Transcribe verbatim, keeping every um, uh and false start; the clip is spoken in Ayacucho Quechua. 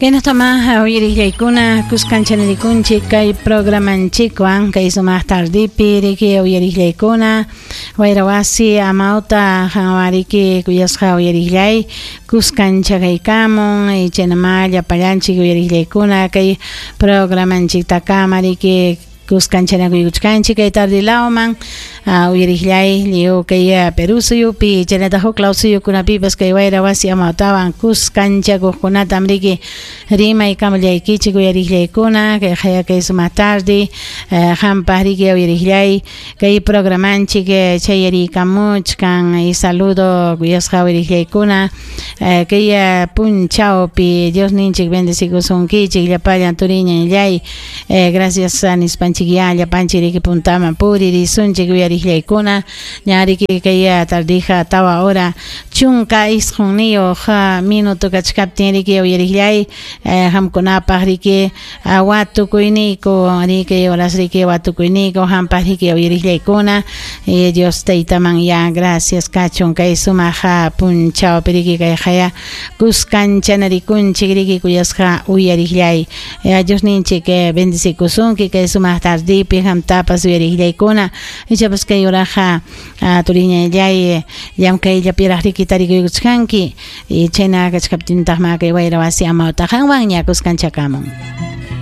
Kaynatama uyariqllaykuna kuskanchaninchik kay programanchikwan kay sumaq tardipi riki uyariqllaykuna wayrawasi amawta qanwariki kuyasqa uyariqllay kuskanchakaykamun chaynama llapallanchik uyariqllaykuna kay programanchiktakama riki kuskancharakuykuchkanchik kay tardilawman uyariqllay lliw kay Perú suyupi chaynataq huk law suyukunapipas kay wayrawasi amawtawan kuskanchakuqkunatam riki rimaykamullaykichik uyariqllaykuna kay qaya kay sumaq tardi qampaq riki uyariqllay kay programanchik chayariykamuchkan y saludo kuyasqa uyariqllaykuna kay punchawpi Dios ninchik bendecikusunkichik llapallan turiñanllay gracias nispanchik ya llapanchik riki puntaman puririsunchik uyariqllaykuna ñariki kay tardija tawa hora chunka isqunniyuq minuto kachkaptin riki uyariqllay qamkunapaq riki watukuyniyku riki horas riki watukuyniyku qampaq riki uyariqllaykuna Dios taytaman ya gracias kachun kay sumaq punchawpi riki kay qaya kuskanchanarikunchik riki kuyasqa uyariqllay Dios ninchik bendecikusunki kay sumaq tardipi qamtapas uyariqllaykuna ichapas kay uraqa turiñallay llamkayllapiraq riki tarikuykuchkanki chayna kachkaptintaqma kay wayrawasi amawta qanwan ña kuskanchakamun.